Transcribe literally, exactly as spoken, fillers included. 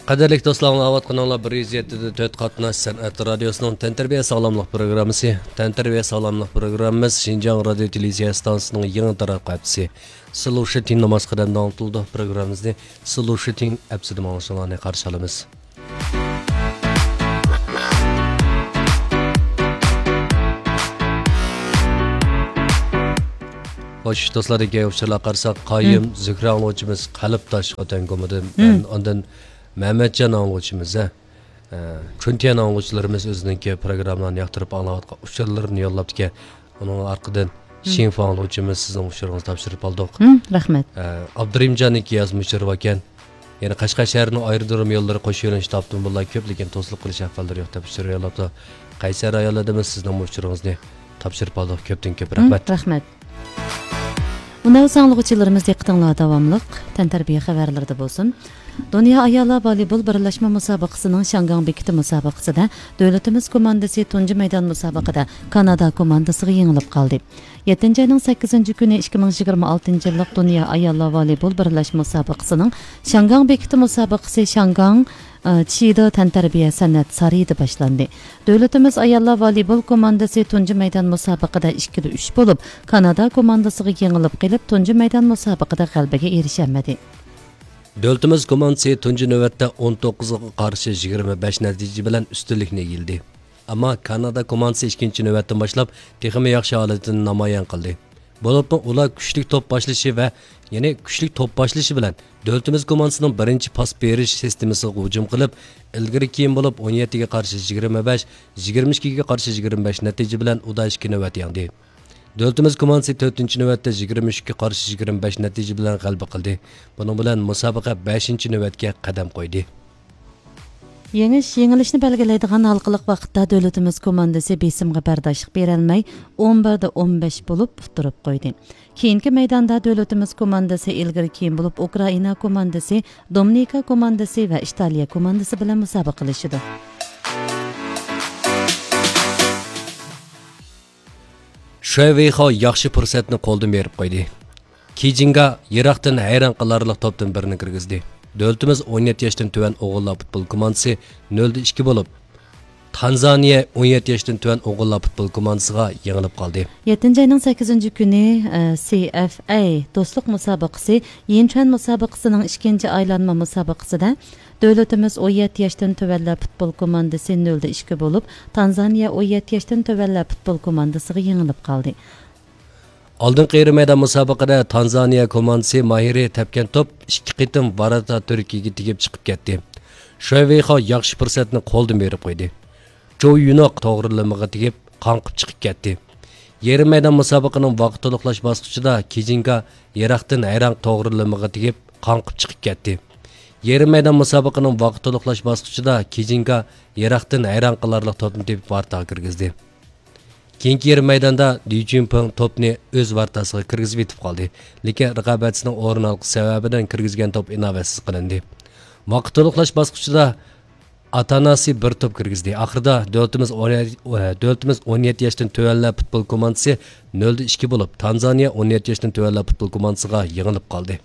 قەدىرلىك دوستلار، ئاڭلاۋاتقىنىڭلار بىر يۈز يەتتە دە تۆت قاتناش سەنئەت رادىيوسىنىڭ تەنتەربىيە ساغلاملىق پروگراممىسى. تەنتەربىيە ساغلاملىق پروگراممىمىز شىنجاڭ رادىيو تېلېۋىزىيە ئىستانسىسىنىڭ يېڭى تاراتقۇ ئەپسى سلۇشىتىڭ ناماز قەدەمدە ئاڭلىتىلىدۇ. پروگراممىمىزنى سلۇشىتىڭ ئەپسىدە ئاڭلىشىڭلارنى قارشى ئالىمىز. خوش، دوستلار، دېگەن ئۇچۇرلارغا قارىساق، قايۇم زۆھرە ئاڭلىغۇچىمىز قەلبداش خوتەن گۇمىدىن، مەن ئاندىن مەمەتجان ئاڭلىغۇچىمىز، ھە، ئە، چۈنتيەن ئاڭلىغۇچىلىرىمىز ئۆزىنىڭكى پروگراممىلارنى ياقتۇرۇپ ئاڭلاۋاتقان ئۇچۇرلىرىنى يوللاپتىكەن. ئۇنىڭ ئارقىدىن شىنفا ئاڭلىغۇچىمىز سىزنىڭ ئۇچۇرىڭىزنى تاپشۇرۇپ ئالدۇق. ھىم، رەھمەت. ئە، ئابدۇرېھىمجاننىڭكى يازما ئۇچۇرى باركەن. يەنە قەشقەر شەھىرىنىڭ ئايرودروم يوللىرى قوش يۆنىلىش تاپتىم بوللا كۆپ، لېكىن توسۇلۇپ قېلىش ئەھۋاللىرى يوق دەپ ئۇچۇر يوللاپتۇ. قەيسەر ئاياللىرىمىز سىزنىڭ ئۇچۇرىڭىزنى تاپشۇرۇپ ئالدۇق. كۆپتىن كۆپ ھىم، رەھمەت. رەھمەت. مۇنەۋۋەر ئاڭلىغۇچىلىرىمىز دىققىتىڭلار داۋاملىق تەنتەربىيە خەۋەرلىرىدە بولسۇن. دۇنيا ئاياللار ۋالىبول بىرلەشمە مۇسابىقىسىنىڭ شياڭگاڭ بېكىتى مۇسابىقىسىدە دۆلىتىمىز كوماندىسى تۇنجى مەيدان مۇسابىقىدە كانادا كوماندىسىغا يېڭىلىپ قالدى. يەتتىنچى ئاينىڭ سەككىزىنچى كۈنى ئىككى مىڭ يىگىرمە ئالتىنچى يىللىق دۇنيا ئاياللار ۋالىبول بىرلەشمە مۇسابىقىسىنىڭ شياڭگاڭ بېكىتى مۇسابىقىسى شياڭگاڭ، ئى، چىدا تەنتەربىيە سەنئەت سارىيىدا باشلاندى. دۆلىتىمىز ئاياللار ۋالىبول كوماندىسى تۇنجى مەيدان مۇسابىقىدە ئىككىدە ئۈچ بولۇپ، كانادا كوماندىسىغا يېڭىلىپ قېلىپ، تۇنجى مەيدان مۇسابىقىدە غەلىبىگە ئېرىشەلمىدى. دۆلىتىمىز كوماندىسى تۇنجى نۆۋەتتە ئون توققۇزغا قارشى يىگىرمە بەش نەتىجە بىلەن ئۈستۈنلۈكنى ئىگىلىدى. ئەمما كانادا كوماندىسى ئىككىنچى نۆۋەتتىن باشلاپ تېخىمۇ ياخشى ھالىتىنى نامايان قىلدى. بولۇپمۇ ئۇلار كۈچلۈك توپ باشلىشى ۋە، يەنى كۈچلۈك توپ باشلىشى بىلەن دۆلىتىمىز كوماندىسىنىڭ بىرىنچى پاس بېرىش سىستېمىسىغا ھۇجۇم قىلىپ، ئىلگىرى كېيىن بولۇپ ئون يەتتىگە قارشى يىگىرمە بەش، يىگىرمە ئىككىگە قارشى يىگىرمە بەش نەتىجە بىلەن ئۇدا ئىككى نۆۋەت يەڭدى. دۆلىتىمىز كوماندىسى تۆتىنچى نۆۋەتتە يىگىرمە ئۈچكە قارشى يىگىرمە بەش نەتىجە بىلەن غەلىبە قىلدى. بۇنىڭ بىلەن مۇسابىقە بەشىنچى نۆۋەتكە قەدەم قويدى. يېڭىش يېڭىلىشنى بەلگىلەيدىغان ھالقىلىق ۋاقىتتا دۆلىتىمىز كوماندىسى بېسىمغا بەرداشلىق بېرەلمەي، ئون بىردە ئون بەش بولۇپ ئۇتتۇرۇپ قويدى. كېيىنكى مەيداندا دۆلىتىمىز كوماندىسى ئىلگىرى كېيىن بولۇپ ئۇكرائىنا كوماندىسى، دومىنىكا كوماندىسى ۋە ئىتالىيە كوماندىسى بىلەن مۇسابىقىلىشىدۇ. شۇەي ۋېيخاۋ ياخشى پۇرسەتنى قولدىن بېرىپ قويدى. كىجىنگا يىراقتىن ھەيران قالارلىق توپتىن بىرنى كىرگۈزدى. دۆلىتىمىز ئون يەتتە ياشتىن تۆۋەن ئوغۇللار پۇتبول كوماندىسى نۆلدە ئىككى بولۇپ، تانزانىيە ئون يەتتە ياشتىن تۆۋەن ئوغۇللار پۇتبول كوماندىسىغا يېڭىلىپ قالدى. يەتتىنچى ئاينىڭ سەككىزىنچى كۈنى، ئە، سى ئەف ئەي دوستلۇق مۇسابىقىسى يىنچۈەن مۇسابىقىسىنىڭ ئىككىنچى ئايلانما مۇسابىقىسىدە دۆلىتىمىز ئون يەتتە ياشتىن تۆۋەنلەر پۇتبول كوماندىسى نۆلدە ئىككى بولۇپ، تانزانىيە ئون يەتتە ياشتىن تۆۋەنلەر پۇتبول كوماندىسىغا يېڭىلىپ قالدى. ئالدىنقى يېرىم مەيدان مۇسابىقىدە تانزانىيە كوماندىسى ماھىرى تەپكەن توپ ئىككى قېتىم ۋاراتتا تۈركىيىگە تېگىپ چىقىپ كەتتى. شۇەي ۋېيخاۋ ياخشى پۇرسەتنى قولدىن بېرىپ قويدى. جو يۈنوق توغرىلىمىغا تېگىپ قاڭقىپ چىقىپ كەتتى. يېرىم مەيدان مۇسابىقىنىڭ ۋاقىت تولۇقلاش باسقۇچىدا كىجىنگا يىراقتىن ھەيران توغرىلىمىغا تېگىپ قاڭقىپ چىقىپ كەتتى. يېرىم مەيدان مۇسابىقىنىڭ ۋاقىت تولۇقلاش باسقۇچىدا كىجىنگا يىراقتىن ھەيران قالارلىق توپنى تېپىپ ۋاراتتاغا كىرگۈزدى. كېيىنكى يېرىم مەيداندا دى جۈنپىڭ توپنى ئۆز ۋارتاسىغا كىرگۈزۈپ يېتىپ قالدى، لېكىن رىقابەتچىسىنىڭ ئورۇن ئالغۇسى سەۋەبىدىن كىرگۈزگەن توپ ئىناۋەتسىز قىلىندى. ۋاقىت تولۇقلاش باسقۇچىدا ئاتاناسى بىر توپ كىرگۈزدى. ئاخىرىدا دۆلىتىمىز ئون، دۆلىتىمىز ئون يەتتە ياشتىن تۆۋەنلەر پۇتبول كوماندىسى نۆلدە ئىككى بولۇپ، تانزانىيە ئون يەتتە ياشتىن تۆۋەنلەر پۇتبول كوماندىسىغا يېڭىلىپ قالدى.